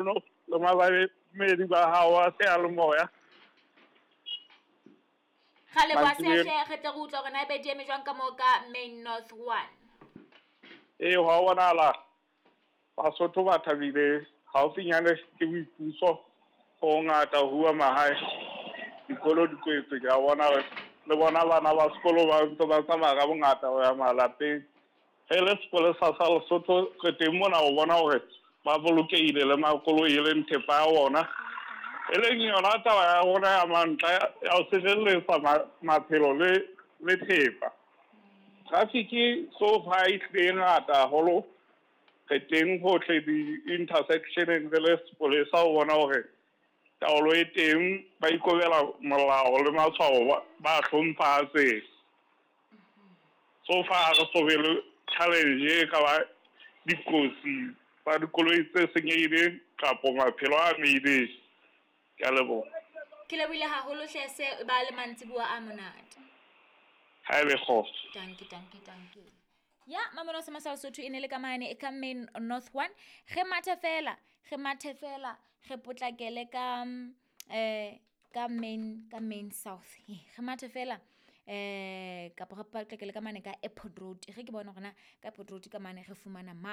Le mamedi ba hao a seyalemoya. Ra leboha sehle, re tle re utlwa hore na ebe di eme jwang ka moo ka Main North 1. Ee, hwa bonahala Basotho ba thabile haufinyane ke boipuso ho ngata ho huwa mahae. Dikolo di kwetswe ke a bona le bona bana ba sekolo ba ntse ba tsamaya ka bongata ho ya malapeng. Re le sepolesa sa Lesotho re teng mona ho bona hore ba bolokehile le makoloi e leng thepa ya bona. E leng yona taba ya rona ya mantla ya ho sireletsa maphelo le thepa. Traffic so far e hlile e ngata haholo. Re teng hohle di-intersectioneng re le sepolesa ho bona hore taolo e teng, ba ikobela molao le matshwao ba hlompha a tsela. So far ha re so be le challenge e ka ba dikotsi tsa dikoloi tse senyehileng kapo maphelo a amehileng. Ke a leboha. Ke lebohile haholo hle se ba le mantsibuwa a monate. Ha e le kgotso. Dankie, dankie, dankie. Ya mamelo sa Masala Sotho e ne le ka mane e ka Main North 1. Re mathe fela, re mathe fela, re potlakele ka ka Main South. Re mathe fela kapa re potlakele ka mane ka Airport Road. Re ke bone hore na ka Airport Road ka mane re fumana mang.